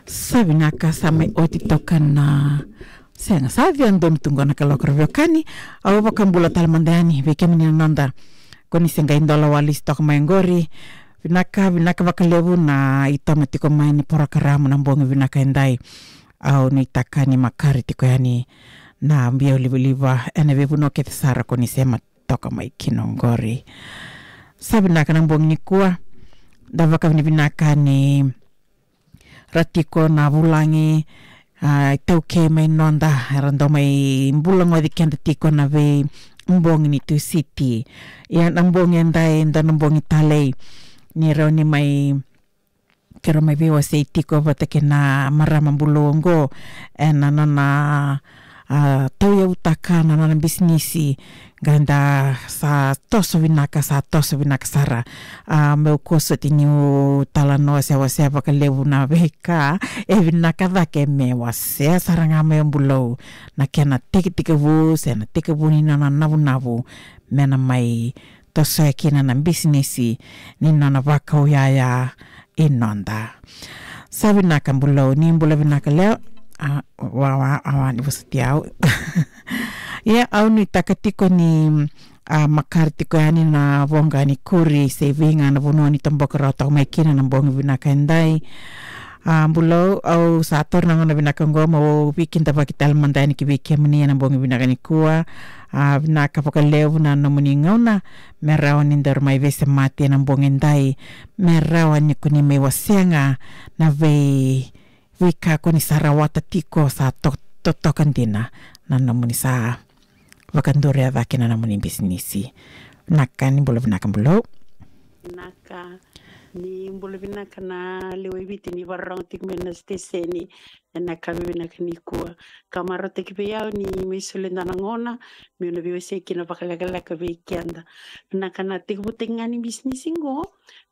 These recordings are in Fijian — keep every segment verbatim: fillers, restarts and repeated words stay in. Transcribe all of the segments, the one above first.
Sa vinaka, sa mai oti toka na sega, sa via donu tu qo na kaloko ra veiwekani. Au vakabula tale mada yani vei kemuni na noda, ko ni se qai dola walesi toka mai qori. Vinaka, vinaka vakalevu na itoma tiko mai ni porokaramu na bogi vinaka edai. Au nuitaka ni makare tiko yani na biau livaliva ena veivanua kece sara ko ni sema toka mai kina qori. Sa vinaka na bogi nikua, da vakavinavinaka ni ra tiko na vulagi, a, iTaukei mai noda, era dau mai bulagoci keda tiko na veibogi ni Tusiti. Ia na bogi edai, dua na bogi talei, ni rawa ni mai, keirau mai veiwasei tiko vata kei na marama bulou oqo ena nona, a, tauyavutaka na nona bisinisi. Qai da sa toso vinaka, sa toso vinaka sara. A, meu kua soti niu talanoa, se wasea vakalevu na veika e vinaka cake me wasea sara ga mai o bulou na kena tekitekivu se na tekivu ni nona navunavu me na mai tosoya kina na bisinisi ni nona vakau yaya i noda. Sa vinaka bulou, ni bula vinaka Leo. A, wa, wa, a, wa, ni vosoti au. Ia, au nuitaka tiko ni, a, makare tiko yani na voqa ni kuri se vei ga na vanua ni toboka rawa toka mai kina na bogi vinaka edai. A, bulou, au sa taura na gauna vinaka oqo meu veikidavaki tale mada yani ki vei kemuni ena bogi vinaka nikua. A, vinaka vakalevu na nomuni gauna me rawa ni daru mai veisemati ena bogi edai, me rawa ni ko ni mai wasea ga na vei, veika ko ni sa rawata tiko, sa to, totoka dina na nomuni sa vakaduria cake na nomuni bisinisi. Vinaka, ni bula vinaka bulou. Vinaka, ni bula vinaka na lewe i Viti ni vakarorogo tiko mai na siteseni ena yakavi vinaka nikua. Ka marautaki vei au ni mai solia e dua na gauna meu na veiwasei kina vakalekaleka vei keda. Vinaka na tekivutaki ga ni bisinisi qo,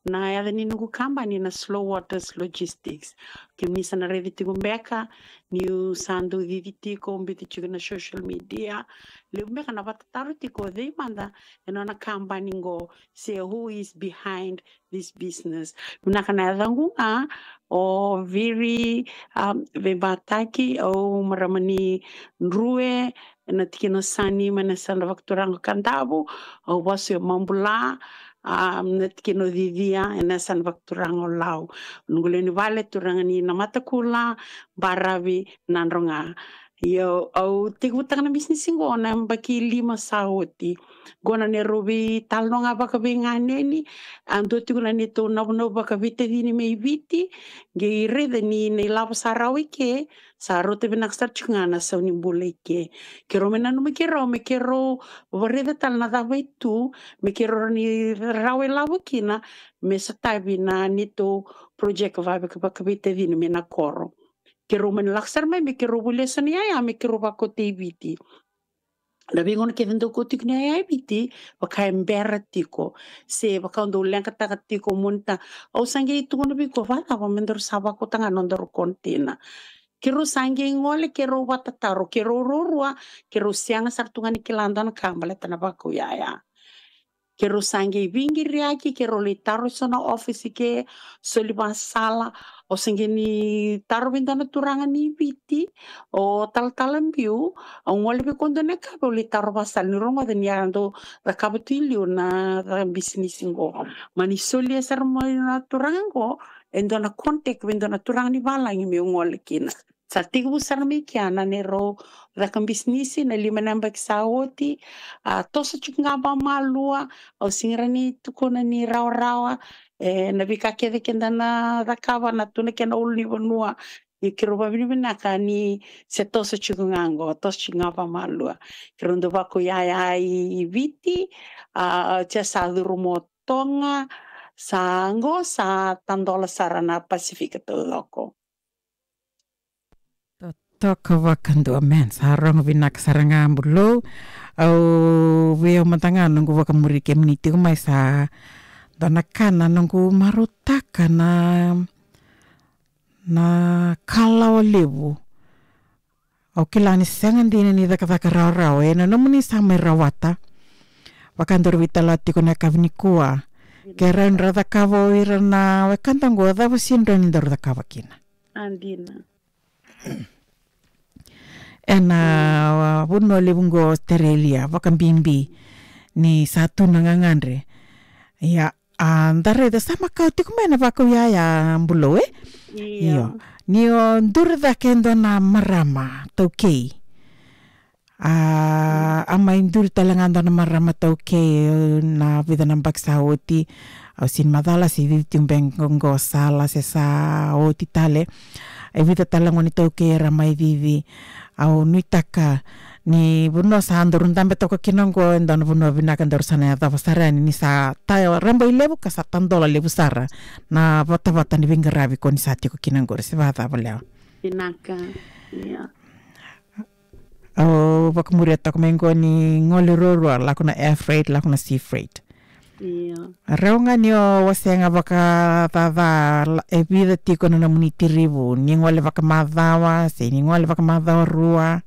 na yaca ni noqu kabani na Slow Waters Logistics. Kemuni sa na raica tiko beka niu sa dau cici tiko, biuta tiko na social media. Levu beka na vatataro tiko, cei mada e nona kabani qo, se who is behind this business. Vinaka na yacaqu ga o Viri, um, Veibataki, au marama ni Drue, ena tikina o Sani, mai na yasana vakaturaga o Kadavu. Au vasu e Mabula, um, na tikina o Cicia, ena yasana vakaturaga o Lau. Noqu lewe ni vale turaga ni Namatakula, Baravi, Nadroga. Io, au tekivutaka na bisinisi qo na yabaki lima sa oti. Qo na neirau veitalanoa ga vakaveiganeni, a dua tiko na neitou navunavu vakaveitacini mai Viti, qai raica ni na ilavo sa rawa i ke, sa rauta vinaka sara tiko ga na sau ni bula i ke. Keirau mai nanuma keirau, me keirau vakaraica tale na cava e tu, me keirau rawa ni rawa ilavo kina, me sotavi na neitou project vaka, vakaveitacini mai na koro. Keirau mai na lako sara mai me keirau volia so na yaya me keirau vakauta i Viti. Na veigauna kece dau kauta tiko na yaya i Viti, vaka e bera tiko. Se vaka au dau leqataka tiko, monitor. Au sa qai tukuna vei iko, vakacava me daru sa vakauta ga na nodaru container? Keirau sa qai gole, keirau vatataro, keirau ruarua, keirau sega sara tu ga ni kila dua na ka baleta na vakau yaya. Keirau sa qai veiqiriyaki, keirau lai taro eso na office ke, soli vakasala. Au sa qai ni taro vei dua na turaga ni Viti, o Talatala Biu, au gole vei koya dua na yakavi, au lai taro vakasala, niu rogoca ni a dau cakava tu i liu na, na bisinisi qo. Mani solia sara mai na turaga qo e dua na contact vei dua na turaga ni valagi meu gole kina. Sa tekivu sara mai kea na neirau caka bisinisi na lima na yabaki sa oti. A toso tiko ga vakamalua, au sega ni tukuna ni rawarawa, e, na veika kece keda na cakava na tu na kena ulunivanua. Ia keirau vakavinavinaka ni se toso tiko ga qo, toso tiko ga vakamalua. Keirau dau vakau yaya i Viti, a, oti sa curu mai Toga, sa qo sa tadola sara na Pasifika taucoko. Totoka vakadua, man, sa rogo vinaka sara ga, bulou. Au vei au mada ga noqu vakamuri kemuni tiko mai, sa dua na ka na noqu marautaka na, na kalawa levu. Au kila ni sega dina ni cakacaka rawarawa, e na nomuni sa mai rawata. Vaka daru veitalanoa tiko na yakavi nikua. Ke rawa ni ra cakava o ira na wekada qo, cava sega ni rawa ni daru cakava kina? A, Dina. Ena vanua levu qo Australia, vakabibi ni sa tu na gagadre. Ia, a, da raica sa makawa tiko mai na vakau yaya, Bulou, e? Io. Io. Ni o duri cake e dua na marama taukei. A, a mai duri tale ga dua na marama taukei, na vica na baki sa oti. Au sini macala se cici tiko beka qo sala se sa oti tale. E vica tale ga ni taukei era mai cici. Au nuitaka ni vanua sa daru dabe toka kina qo, e dua na vanua vinaka daru sa na yacova sara yani ni sa ta raba i levu ka sa tadola levu sara na vatavata ni veiqaravi ko ni sa tiko kina qori, se vacava, Lewa? Vinaka. Ia. Au vakamuria toka mai qo ni gole ruarua, lako na air freight, lako na sea freight. Ia. Rau ga ni o wasea ga vakacaca, la-, e vica tiko na nomuni tirivu, ni gole vakamacawa, se ni gole vakamacawa rua?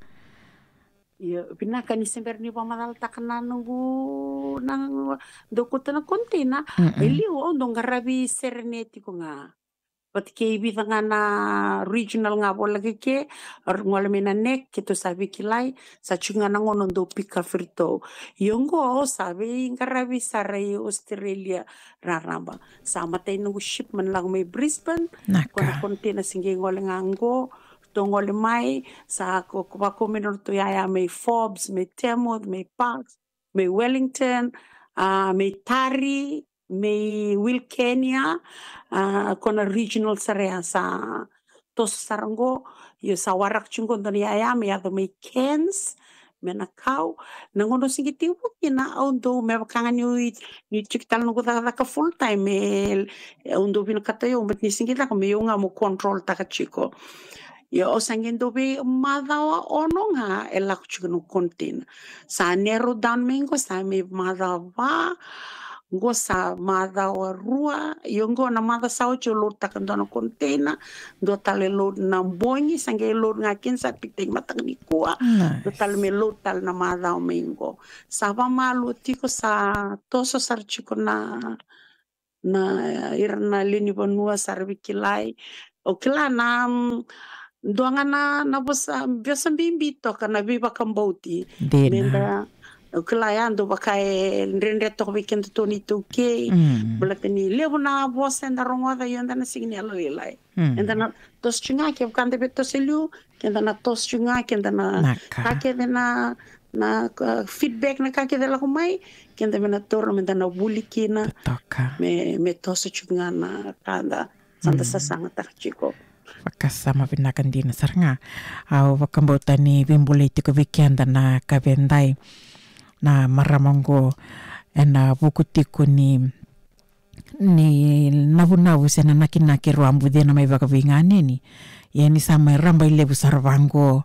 Ia, vinaka ni se bera ni vakamacalataka na noqu, na noqu, dou kauta na container. Mm-mm. E liu, au dau qaravi Serene tiko ga. Vata kei vica ga na regional ga voleka ke, au gole mai na neck, keitou sa veikilai, sa tiko ga na gauna dou pick up iratou. Io qo, sa veiqaravi sara i Australia raraba. Sa matai noqu shipment lako mai Brisbane, na ka, ko na container se qai gole ga qo, tou gole mai, sa ko, ko vako mai na notou yaya mai Forbes, mai Tamworth, mai Parkes, mai Wellington, a, mai Taree, mai Wilcannia, a, ko na regional sara ya sa toso sara qo, io sa waraka tiko qo dua na yaya me yaco mai Cairns, me na kau, na gauna au se qai tekivu kina au dau me vaka ga niu, niu tiko tale noqu cakacaka full time, e, au dau vinakata io, but ni se qai caka me io ga mo control taka tiko. Io, au sa qai dau veimacawa ono ga e lako tiko na container. Sa narrow down mai qo sa mai macawa va, qo sa macawa rua, io qo na macawa sa oti au load taka dua na container, dua tale load na bogi, sa qai load ga kina sa pikitaki mataka nikua, dua tale me load tale na macawa mai qo. Sa vamalua tiko, sa toso sara tiko na, na ira na lewe ni vanua sa ra veikilai. Au kila na, mm, dua ga na, na vosa, vosa bibi toka na veivakabauti. Dina. Meda, au kila ya dau vaka e dredre toka vei kedatou na iTaukei. Mm. Baleta ni levu na vosa eda rogoca, io eda na sega ni yalolailai. Mm. Eda na toso tiko ga, kevaka da via toso e liu, keda na toso tiko ga, keda na, na ka, ka kece na, na, uh, feedback, na ka kece lako mai, keda me na taura, meda na vuli kina. Totoka. Me, me toso tiko ga na ka da, sa da, mm, sasagataka tiko. Vakasama vinaka dina sara ga. Au vakabauta ni veibolei tiko vei keda na kavedai, na marama qo, ena vuku tiko ni ni navunavu se na nakinaki rau a bucina mai vakaveiganeni. Ia ni sa mai raba i levu sara vaqo,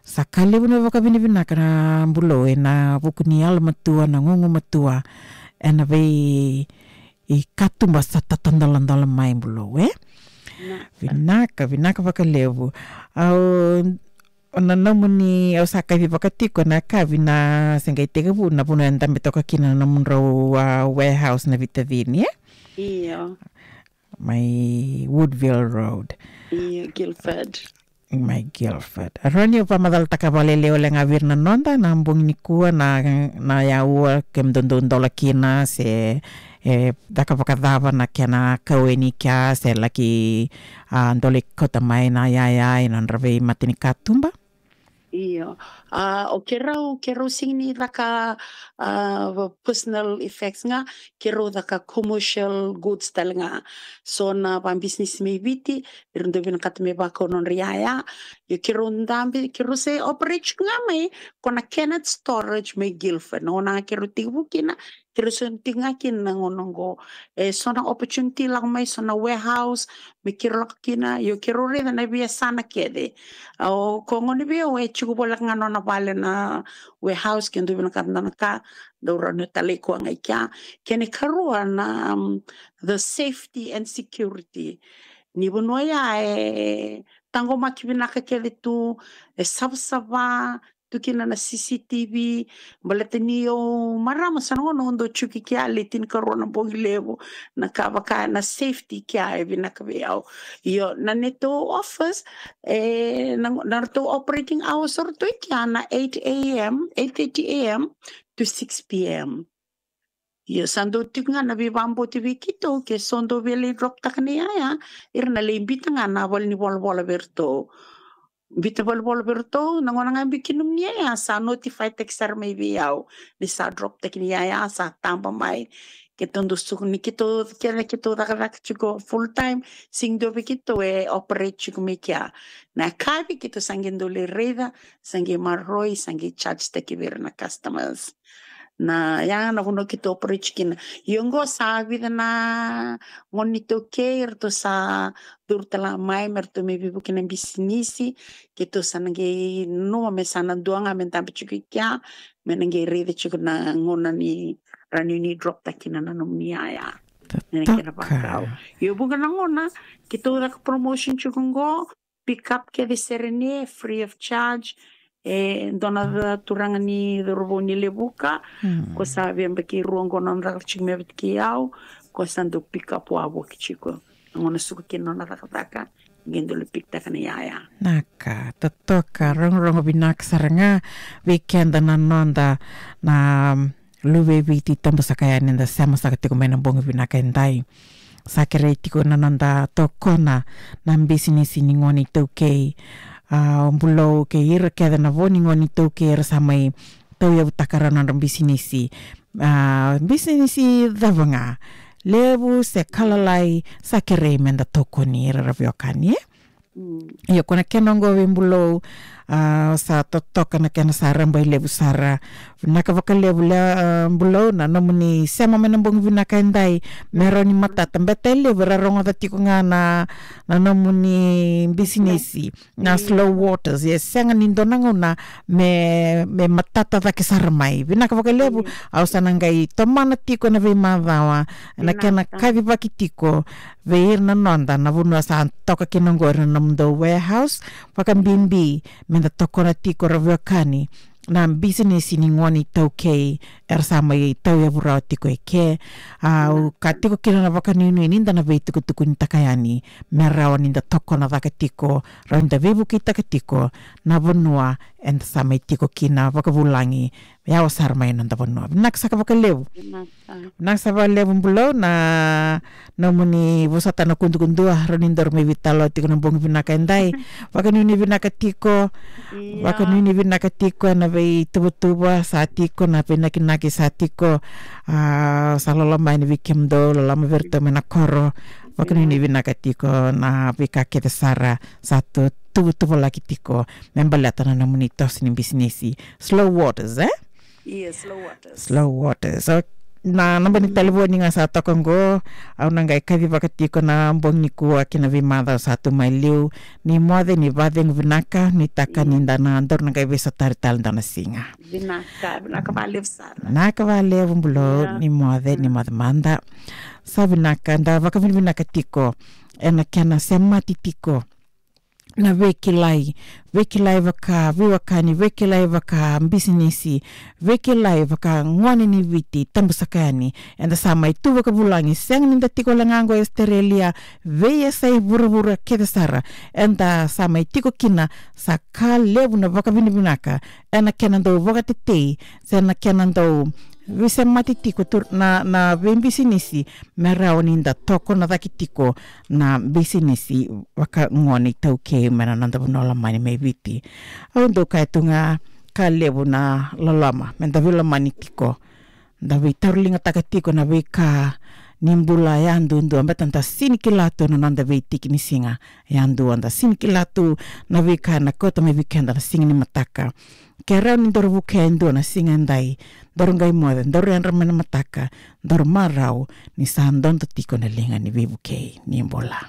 sa ka levu na vakavinavinaka na Bulou ena vuku ni yalomatua, na gugumatua, ena vei, i katuba sa tatadoladola mai, Bulou, e? Vinaka. Vinaka, vinaka vakalevu. Au, na nomuni, au sa kaci vakatiko na kavi na se qai tekivu na vanua e dabe toka kina na nomudrau, a, warehouse na Vitacini, e? Io. Mai Woodville Road. Io, Guildford. Mai Guildford. Rau ni vakamacalataka vakalailai wale ga vei ira na noda, na bogi nikua, na, na yaua, kemudou dau dola kina, se, e, caka vakacava na kena kau yani kea, se laki, a, dau lai kauta mai na yaya ena nodra veimatanikatuba. Io. A, o keirau, keirau sega ni caka, a, personal effects ga, keirau caka commercial goods tale ga. So na vabisinisi mai Viti, era dau vinakata me vakau nodra yaya. Io keirau dabe, keirau se operate ga mai, ko na Kennett Storage mai Guildford. Na gauna keirau tekivu kina, keirau se tiko ga kina na gauna qo. E so na opportunity lako mai, so na warehouse, me keirau lako kina, io keirau raica na veiyasana kece. Au, ko gone vei au e tiko voleka ga nona vale na warehouse, ke dau vinakata dua na ka, dau rawa ni talai koya ga i kea. Kena ikarua na, um, the safety and security. Ni vanua ya e taqomaki vinaka kece tu, e savasava, tu kina na C C T V, baleta ni o marama sa na gauna o dau tiko i kea le tinikarua na bogi levu, na ka vaka na safety kea e vinaka vei au. Io, na neitou office, e, na, na ratou operating hours o ratou i kea na eight a m, eight thirty a m to six p m. Io, sa dau tiko ga na veivaboti vei keitou, ke so dau via lai drop taka na iyaya, ira na lai bita ga na valenivolavola vei iratou. Bita valenivolavola vei iratou, na gauna ga biu kina nomuni iyaya, sa notify taki sara mai vei au ni sa drop taki na iyaya, sa taba mai. Keitou dau suka ni keitou, kena keitou cakacaka tiko full time, sega dua vei keitou e operate tiko mai kea. Na yakavi keitou sa qai dau lai raica, sa qai maroroi, sa qai charge taki vei ira na customers. Na, ya na vanua keitou operate kina. Io, qo sa vica na gone ni iTaukei, ratou sa curu tale mai me ratou mai veivuke na bisinisi. Keitou sa na qai nanuma me sa na dua ga me dabe tiko i kea, me na qai raica tiko na gauna ni rawa ni drop taki na, na nomuni iyaya. Na kena vakau. Io, vuqa na gauna keitou caka promotion tiko qo, pick up kece sere ni free of charge. E dua na turaga ni cauravou ni Levuka, ko sa via yabaki rua qo na nona caka tiko mai vata kei au, ko sa dau pick up wavoki tiko. Na gauna suka kina na nona cakacaka, qai dau lai pick taka na iyaya. Na ka totoka, rogorogo vinaka sara ga vei keda na noda na luve i Viti tabu saka yani eda sema saka tiko mai na bogi vinaka edai. Sa kerei tiko na noda tokona na bisinisi ni gone iTaukei. A, o Bulou kei ira kece na vo ni gone iTaukei era sa mai tauyavutaka rawa na nodra bisinisi. A, bisinisi cava ga, levu se ka lalai, sa kerei meda tokoni ira ra veiwekani, e? Io, ko na kena oqo vei Bulou, a, sa totoka na kena sa rabailevu sara. Vinaka vakalevu le, a, Bulou, na nomuni sema mai na bogi vinaka edai. Me rawa ni matata, beta e levu era rogoca tiko ga na, na nomuni bisinisi, na Slow Waters. E sega ni dua na gauna me, me matata cake sara mai. Vinaka vakalevu, au sa na qai tomana tiko na veimacawa na kena kacivaki tiko vei ira na noda na vanua sa toka kina oqori na nomudou warehouse, vakabibi meda tokona tiko ra veiwekani na bisinisi ni gone iTaukei era sa mai tauyavu rawa tiko eke. Au ka tiko kina na vakanuinui nida na veitukutukunitaka yani me rawa nida tokona cake tiko, rawa nida veivukeitaka tiko na vanua eda sa mai tiko kina vakavulagi, yawa sara mai na noda vanua. Vinaka saka vakalevu. Vinaka saka vakalevu Bulou na nomuni vosota na kudukudua, rawa ni daru mai veitalanoa tiko na bogi vinaka edai. Vakanuinui vinaka tiko. Vakanuinui vinaka tiko ena veituvatuva sa tiko, na veinakinaki sa tiko. A, sa loloma yani vei kemudou, loloma vei iratou mai na koro. Vakanuinui vinaka tiko na veika kece sara sa tu, tuvatuvalaki tiko me baleta na nomuni toso ni bisinisi Slow Waters, e? Io, Slow Waters. Slow Waters. So, na naba ni talevoni ga sa toka oqo, au na qai kacivaka tiko na bogi nikua kei na veimacawa sa tu mai liu. Ni moce, ni vakacegu vinaka, ni taka nida na daru na qai veisotari tale dua na siga. Vinaka, vinaka vakalevu sara. Vinaka vakalevu Bulou, ni moce, ni moce mada. Sa vinaka, da vakavinavinaka tiko ena kena semati tiko na veikilai, veikilai vaka veiwekani, veikilai vaka bisinisi, veikilai vaka gone ni Viti tabu saka yani. Eda sa mai tu vakavulagi, sega nida tiko wale ga qo e Australia, veiyasai vuravura kece sara eda sa mai tiko kina. Sa ka levu na vakavinavinaka ena kena dau vakatetei se na kena dau veisemati tiko tu na, na veibisinisi me rawa nida tokona cake tiko na bisinisi vaka gone iTaukei mai na noda vanua lomani mai Viti. Au dau kaya tu ga, ka levu na loloma, meda veilomani tiko, da veitauriligataka tiko na veika ni bula yadudua, beta da sega ni kila tu na noda veitiki ni siga yadua, da sega ni kila tu na veika ena kauta mai vei keda na siga ni mataka. Ke rawa ni daru vukea e dua na siga edai, daru qai moce, daru yadra mai na mataka, daru marau ni sa dodo tiko na liga ni veivukei ni bula.